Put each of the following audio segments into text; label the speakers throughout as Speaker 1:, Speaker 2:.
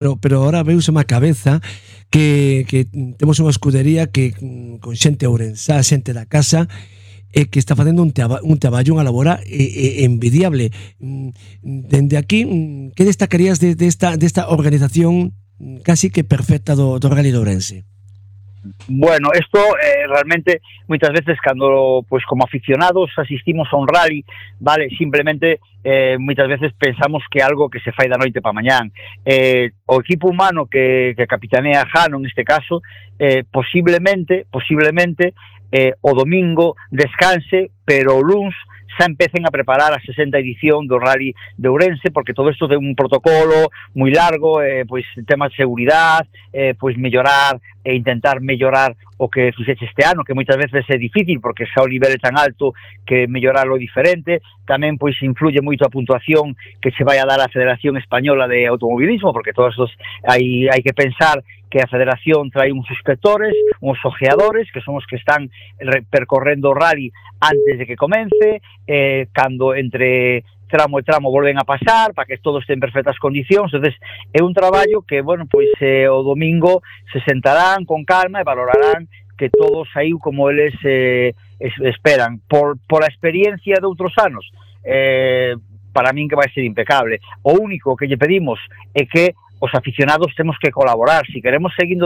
Speaker 1: pero ahora veuse má cabeza que temos unha escudería que con xente ourensá, xente da casa, que está facendo un traballo, unha labora envidiable. Dende aquí, que destacarías desta organización casi que perfecta do Rally de Ourense?
Speaker 2: Bueno, esto realmente muchas veces cando pues como aficionados asistimos a un rally, vale, simplemente muchas veces pensamos que algo que se fai da noite para mañán. O equipo humano que capitanea Jano neste caso, posiblemente o domingo descanse, pero o luns xa empecen a preparar a 60 edición do Rally de Ourense, porque todo isto ten un protocolo moi largo, pois tema de seguridade, pois mellorar e intentar mellorar o que fixeche este ano, que moitas veces é difícil porque xa o nivel é tan alto que mellorarlo é diferente. Tamén pois influye moito a puntuación que se vai a dar a Federación Española de Automobilismo, porque todos estos hai que pensar que a Federación trae uns inspectores, uns ojeadores, que son os que están percorrendo o rally antes de que comence, cando entre tramo e tramo volven a pasar, para que todos estén en perfectas condicións. Entonces, é un traballo que, bueno, pois o domingo se sentarán con calma e valorarán que todo saiu como eles esperan. Por a experiencia de outros anos, para min que vai ser impecable. O único que lle pedimos é que os aficionados temos que colaborar. Si queremos seguir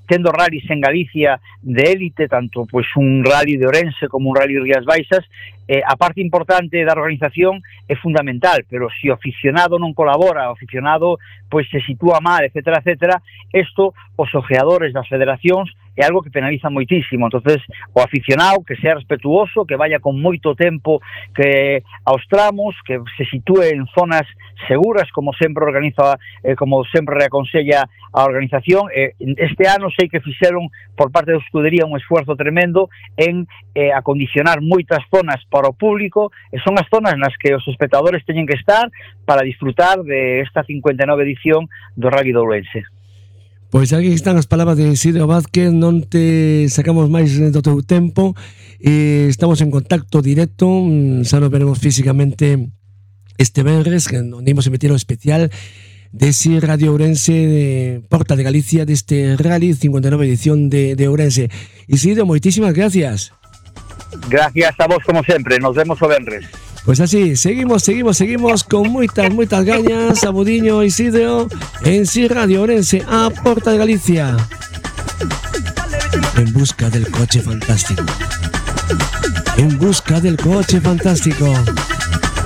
Speaker 2: tendo rallies en Galicia de élite, tanto pois un rally de Ourense como un rally de Rías Baixas, a parte importante da organización é fundamental, pero se o aficionado non colabora, o aficionado pois se sitúa mal, etcétera, etcétera, isto os ojeadores das federacións é algo que penaliza moitísimo. Entonces, o aficionado que sea respetuoso, que vaya con moito tempo que aos tramos, que se sitúe en zonas seguras, como sempre organiza, como sempre reaconsella a organización. Este ano sei que fixeron por parte da escudería un esfuerzo tremendo en acondicionar moitas zonas para o público, e son as zonas nas que os espectadores teñen que estar para disfrutar de esta 59 edición do Rally de Ourense.
Speaker 1: Pois aquí están as palabras de Isidro Vázquez, non te sacamos máis do teu tempo, estamos en contacto directo, xa nos veremos físicamente este venres, onde imos emitir o especial dese Radio Ourense de Porta de Galicia, deste Rally 59 edición de Ourense. Isidro, moitísimas gracias.
Speaker 2: Gracias a vos como sempre, nos vemos o venres.
Speaker 1: Pois así, seguimos con moitas gañas. Sabudiño, Isidro, en Si Radio Ourense, a Porta de Galicia, en busca del coche fantástico. En busca del coche fantástico.